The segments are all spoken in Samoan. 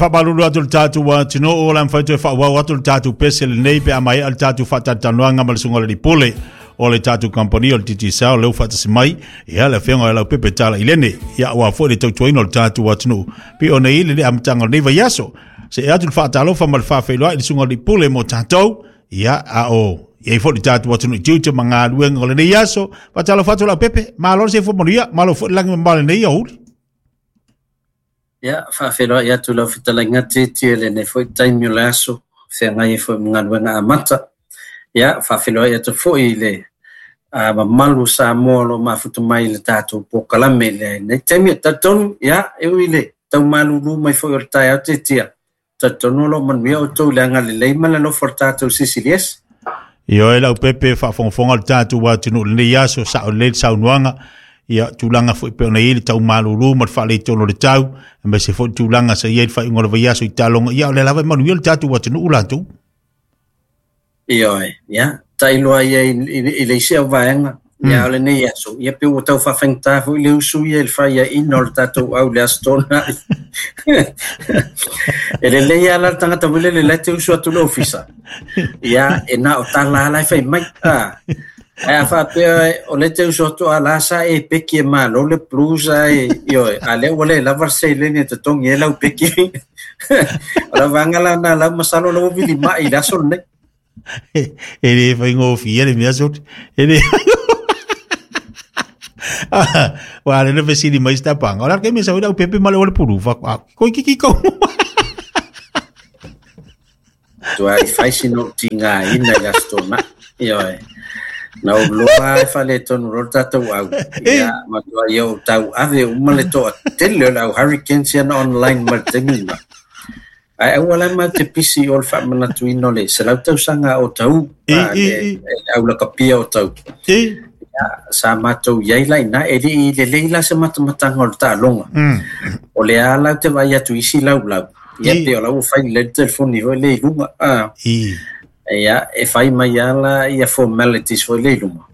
Faamalulu atu i le tatou atunuu, o le a mafai toe faaauau atu le tatou pese lenei pe a maea le tatou faatalatalanoaga ma le Susuga i le Alii Pule o le tatou kamupani o le Digicel lea ua faatasi mai, ia le Afioga ia Laupepe Tala Ilene, ia aua foi le tautuaina o le tatou atunuu pei ona i ai le amataga o lenei vaiaso. Se'e atu le faatalofa ma le faafeiloai i le Susuga i le Alii Pule mo tatou, ia a o i ai foi le tatou atunuu i tiute ma galuega o lenei aso. Faatalofa atu Laupepe, malo le soifua manuia, malo foi le lagi mamao i lenei aoauli. Ia, faafeiloai atu i lau fetalaiga Tietie i lenei foi taimi o le aso, feagai ai foi ma galuega amata. Ia, faafeiloai atu foi i le mamalu o Samoa o lo o mafuta mai i le tatou polokalame i lenei taimi. E talitonu, ia, e ui i le tau malulu mai foi o le taeao Tietie, talitonu o lo o manuia outou i le agalelei ma le alofa o le tatou CCDS. Ioe Laupepe, faafogafoga le tatou atunuu i lenei aso, sao lelei le saunoaga, ia tulaga foi pei ona i ai le tau malulu ma le faaletonu o le tau, aemaise foi le tulaga sa i ai le faaiuga o le vaiaso i taaloga, ia o lea lava e manuia le tatou atunuu latou. Ioe, ia, tailo ia i le isi au vaega, ia o lenei aso, ia pe ua tau faafaigata foi le usu ia i le faiaina o le tatou au i le Aso Toonai. E lelei lava la le tagata foi lele la e te usu atu i le ofisa, ia, e na o tala lava la e fai mai. Ah, ae a faapea o lea e te usu atu a la sa e peki e malo le Blues ae, ioe, a lea ua le lava le seleni e totogi ai lau peki. O la vaega la na lau masalo la ua vilima'i i le aso lenei. E le faigofie le mea soli. E le Wa le fesili mai se tapanga. O la ke me sa ua pepe ma le ole pulu fa. Koi kiki ko. Tuai fai sina ou tigaina i le Aso Toonai. Ioe. Na ou loa e faaletonu loa le tatou au. Ia, matuai ou tauave uma le toatele o le au Hurricanes ia na online mai i le taimi lena. Ae aua la matou te pisi i o le faamanatuina o le 100 tausaga o Taū, le au lakapia o Taū. Ia, sa matou i ai la i ina, e le i lelei la se matamataga o le taaloga. O lea lava la ou te vaai atu i isi laulau, ia pei o la ua fai lelei le telefoni foi lea i luga. Ia, e fai mai lava la ia formalities foi lea i luma.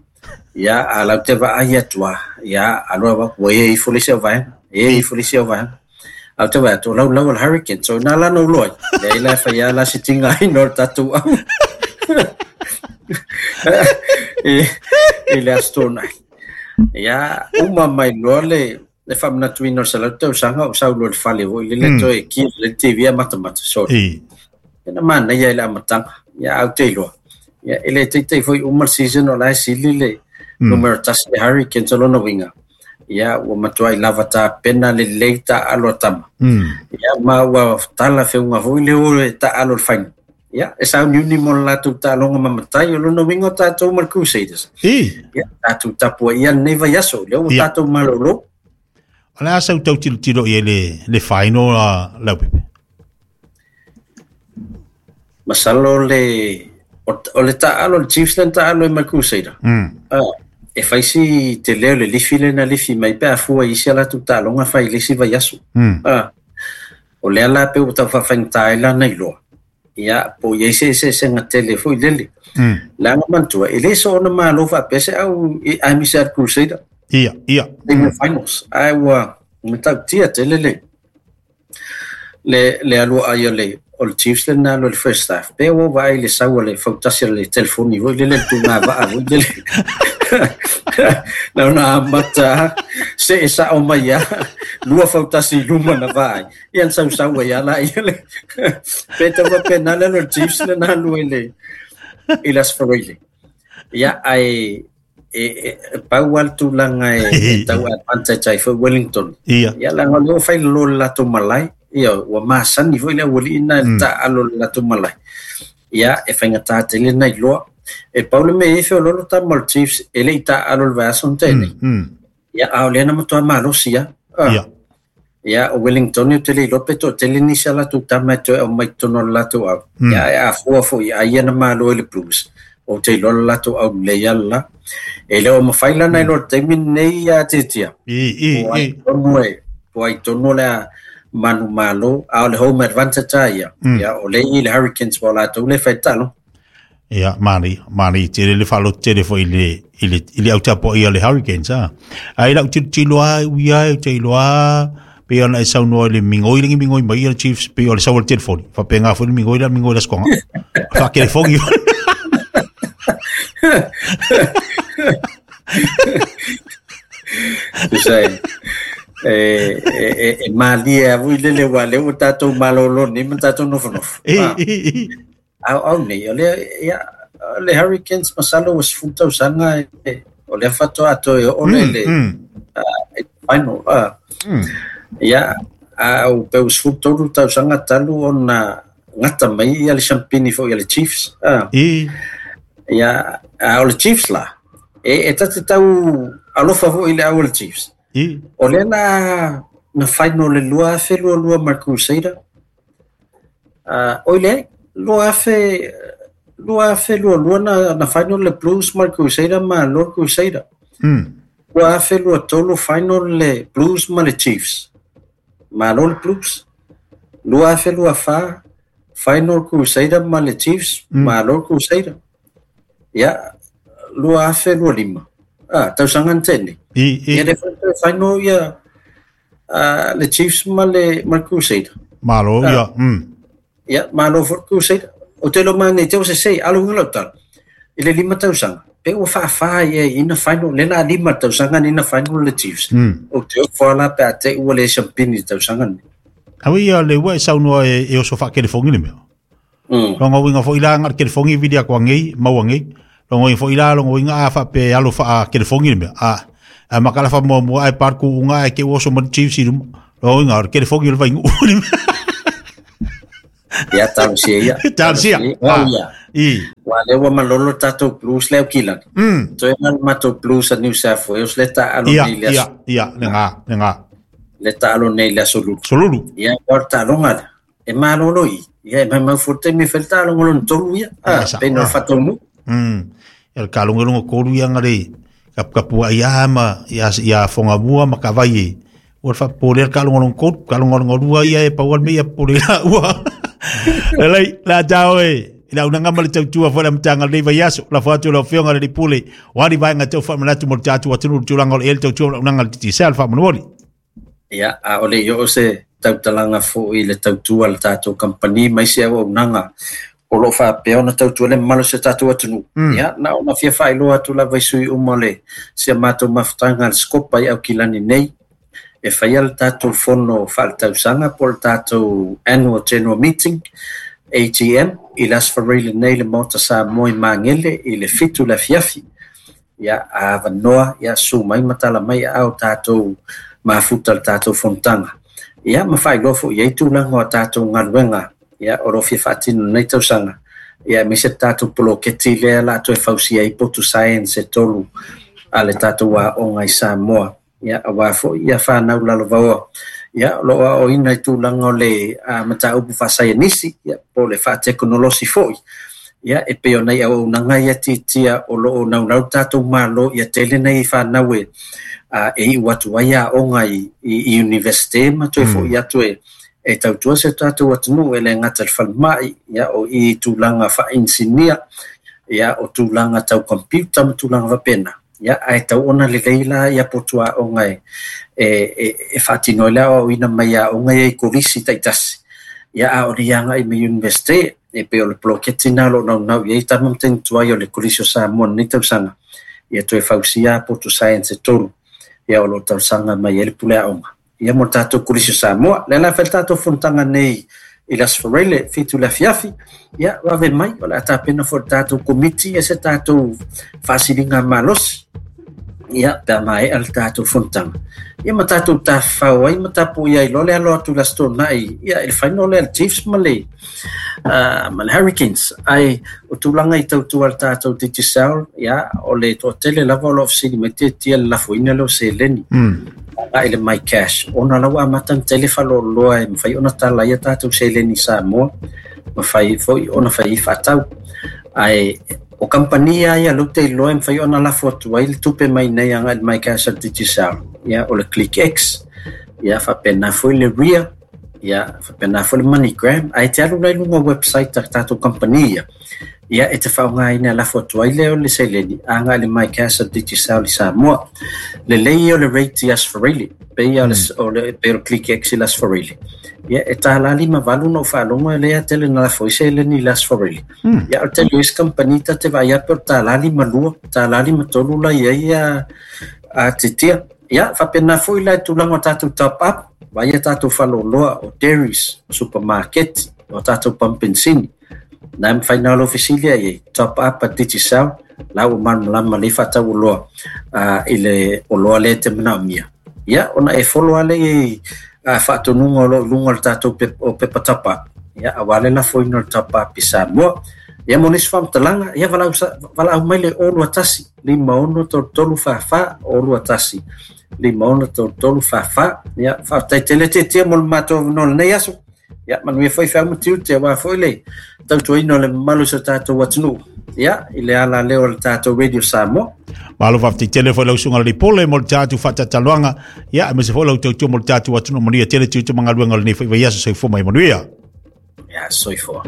Ia, a o la ou te vaai atu lava, ia, alu atu ua ea ifo le isi au vaega, ea ifo le isi au vaega. A ou te vaai atu, o laulau o le Hurricane. So, ina la na ou iloa ai, leai la e fai lava la se tigaina o le tatou au i le Aso Toonai. Ia, uma mai loa le le faamanatuina o le 100 tausaga o sau loa i le fale foi lele toe ki le TV a matamata. Sorry. E na manaia i le amataga. Ia, a ou te iloa. Ia, e le taitai foi uma le season o la e sili le numera 1 le Hurricanes o lona uiga. Ia, ua matuai lava tapena lelei taaalo a tama. Ia, ma ua talafeuga foi le o e taaalo i le final. Ia, e sauniuni mo le latou taaloga ma matai, o lona uiga o tatou ma le Crusaders. Ia, tatou tapuaia lenei vaiaso, lea ua tatou malolo. O le a sau tau tilotilo i ai le final a Laupepe? Masalo le o le taaalo le Chiefs lea na taaalo ai ma le Crusader. E fai si tele o le lifi lea na lifi mai pe a fua i isi a latou taaloga fai i le isi vaiaso. O lea la pei ua tau faafaigata ai lana iloa. Ia, po o i ai se eseesega tele foi lele. Leaga manatua, e le soona malo faapea se au i aemaise lava le Crusader. Ia, ia. I le finals. Ae ua matautia tele le le alu ai o le o le Chiefs lena alu i le first half. Pe ua vaai i le sau a le fautasi a le telefoni foi lele le tugavaa foi lele. Na ona amata see sao mai lava, lua fautasi i luma na vaai. Ia na sausau ai lava laia le. Pe tau faapena le alu a le Chiefs lena alu ai i le Aso Faraile. Ia, ae e pau lava le tulaga e tau advantage ai foi Wellington. Ia. Ia, leaga o lea ua fai lalo i le latou malae. Ia, ua masani foi le aualii lena i le taaalo i le latou malae. Ia, e faigata tele na iloa. E pau le mea e i ai feoloolo tama o le Chiefs e le i taaalo i le vaiaso na tea nei. Ia, a o lea na matua malosi lava. Ia. Ia, o Wellington ou te le iloa pe toatele nisi a latou tama e toe aumai i totonu o le latou au. Ia, ae a fua foi ai ia na malo i le Blues, ou te iloa le latou au lelei lava le la. E le o mafai la ona iloa i le taimi lenei ia Tiatia. I, Po ai i. tonu e, po ai tonu o le a manumalo, a o le home advantage lava ia. Ia, o lea e i le Hurricanes po o latou lea e fai le taaloga. Ia, manaia, manaia tele le faaloto tele foi i le, i le, i le au tapuaia o le Hurricanes, a. Ae i lau tilotilo lava, e ui lava, ou te iloa lava, Pe ona e saunoa i le migoi lengi migoi mai ia le Chiefs pe o le sau o le telefoni. Faapena foi le migoi la migoi la skonga. Fa telefongi. Tusa e e malie a vui lele ua le ua tātou malolo ni ma tātou nofonofo. Au au nei, o le, ia, le Hurricanes masalo ua 10 tausaga o lea faatoa atoa e oo le le final. Ia, a au pe ua 13 tausaga talu ona gata mai ia le siampini foi a le Chiefs. Ia, a o le Chiefs la, e tate tau alofa foi i le au o le Chiefs. O lea la na final le 2022 ma le Crusader. Oi le 2022 na final le Blues ma le Crusader ma Lord Crusader. 2023 final le Blues ma le Chiefs. Ma Lord Blues. 2024 final Crusader ma le Chiefs ma Lord Crusader. Ia 2025. Tausaga na tene. Ia le final ia le Chiefs ma le Crusader. Malo ia. Ia malo for Crusader. O te lo mai te o se sei alu ngalo tal. I le 5 tausaga. Pe ua faafa ia ina final le la 5 tausaga ni na final le Chiefs. O te o fala pe a te ua le champini tausaga ni. Awi ia le ua e saunoa e oso whakelefongi le mea. Longa winga fo ila ngar kelefongi vili a ngei, maua ngei. Longa winga fo ila longa winga a wha pe alo wha kelefongi le mea. A makala wha mua mua ai parku unga e ke oso ma Chiefs i rumo. Longa winga or kelefongi le vaingu. Ia tausia ia. Tausia. Ia. Wa le ua malolo tātou Blues leo kilani. Toe ngan matou Blues a New South Wales le ta alo nei le aso. Ia, le ngā. Le ta alo nei le aso lulu. Solulu. Ia, wa ta longa le. E malolo i. Ia, e mai mau fute mi fel ta longa lon tolu ia. Peno whataunu. Ia le ka longa longa kolu ia ngare. Kapua ia ama, ia whonga mua ma ka vai e. Ua le whapole ka longa longa kolu, ka longa longa lua ia e paual me ia pole la ua. Lelei, la tau e. Ila unanga ma le tautua fo le mtanga le vaiaso, la fo atu le fionga le pule. Wari vaenga tau wha manatu mo le tatu atunu tūlanga o le ele tautua unanga le titi sea le wha. Ia, a ole i o se tautalanga fo i le tautua le tātou kampani mai se au unanga o lo wha ona tautua le malo se tātou atunu. Ia, na ona fia whailoa atu la vaisui uma le se mātou mafutanga le skopa i au kilani nei. E whaia le tātou fono whaletausaga po le tātou annual general meeting AGM i Las Farele nei le Maota Samoa i Magele i le 7 le afiafi. Ia, a vanoa, ia su mai matala mai au tātou mafuta le tātou fonotaga. Ia, ma whailoa fo i ei tūlanga o tātou ngaluenga. Ia, o rofia whaatino nei tausaga. Ia, me se tātou poloketi lea la atu e fausia i potu science e tolu a le tātou a onga i Samoa. Ia, a wā fo ia whānau lalo vaoa. Ia, lo a o ina i tūlanga o le mataupu whasaianisi, ia, po le whaatekonolosi foi. Ia, e peo nei au unanga ia titia o lo o naunau tātou malo, ia tele nei whānau e e i watu ai a onga i universite ma toe fo i atu e tautua se tātou atunu e le ngata le whalmai, ia, o i tūlanga wha-insinia, ia, o tūlanga tau computer ma tūlanga wapena. Ia, ai tau ona le leila ia potua onga e whātino lea o ina mai a onga i kolisi taitasi. Ia, a ori anga i me universite, e pe o le poloketi nā lo nau nau, ia i tama mteng tuai o le kolisi o Samoa nei tausaga. Ia toe fausia potu science e tolu. Ia o lo tausaga mai e le pule a onga. Ia mo tātou kolisi o Samoa. Le la fel tātou fonotaga nei i Las Farele, 7 le afiafi. Ia, wave mai, o le atapena fo tātou komiti e se tātou whasilinga malosi. Ia, pea mai a le tātou fonotaga. Ia ma tātou tāwhau ai, ma tāpo ia i lole alo atu la stona i. Ia, e le whaino le Chiefs ma le Hurricanes. Ai, o tūlanga i tautua le tātou Digicel, ia, o le toatele lava o lo ofisini mai te tia le lafoina leo se leni. A ele mai cash. Ona lawa amata tele whaloloa e mwhai ona tala ia tātou se leni Samoa. Mwhai foi ona whai i whatau. Ai, o kampania ia lute i loa e mwhai ona lafo atu ai le tupe mai nei anga le mai cash al Digicel. Ia, o le ClickX. Ia, whapena foi le RIA. Ia, faapena foi le MoneyGram, ae te alu la i luga o website a tatou kamupani ia, ia e te faaaogaina e lafo atu ai lea o le seleni agai i le MyCash a Digicel i Samoa. Lelei ia o le rate i Aso Faraile, pei o le, o le, pei o le ClickX i le Aso Faraile. Ia, e $1.58 na ou faalogo lea tele na lafo ai seleni i le Aso Faraile. Ia, o le tele o isi kamupani ta te vaai atu o le $1.52, $1.53 la i ai a titia. Ia, faapena foi la i tulaga o tatou top up, vaai a tatou faleoloa o dairies, o supamaketi, o tatou pamu penisini. Na e mafai na o lou fesili ai ai, top up a Digicel, la ua malamalama lelei faatau oloa i le oloa lea e te manaomia. Ia, ona e follow lava lea i faatonuga o lo o i luga o le tatou o pepa top up, ia, aua le lafoina o le top up i Samoa. Ia, mo nisi faamatalaga, ia valaau mai le 021 56 33 44 021 56 33 44. Ia, faafetai tele Tietia mo le matou avanoa i lenei aso. Ia, manuia foi feau ma tiute aua foi le tautuaina o le mamalu o si o tatou atunuu. Ia, i le ala lea o le tatou Radio Samoa. Malo faafetai tele foi lau susuga i le Pule mo le tatou faatatalanoaga. Ia, aemaise foi lau tautua mo le tatou atunuu. Manuia tele tiute ma galuega o lenei foi vaiaso. Soifua ma ia manuia. Ia, soifua.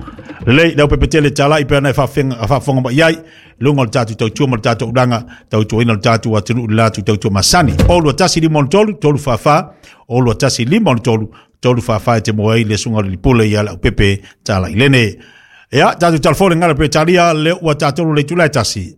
Lelei, lau pepetele talai pe ana e faafofoga mai ai, luga o le tatou tautua ma le tatou ulaga, tautuaina le tatou atunuu i le latou tautua masani. O 21 53 344, o 21 53 344 e te moe ai le susuga o le Pule ia lau pepe talai lene. Ia, tatou talafo le ngala pe talia, le ua tatou le itula e tasi.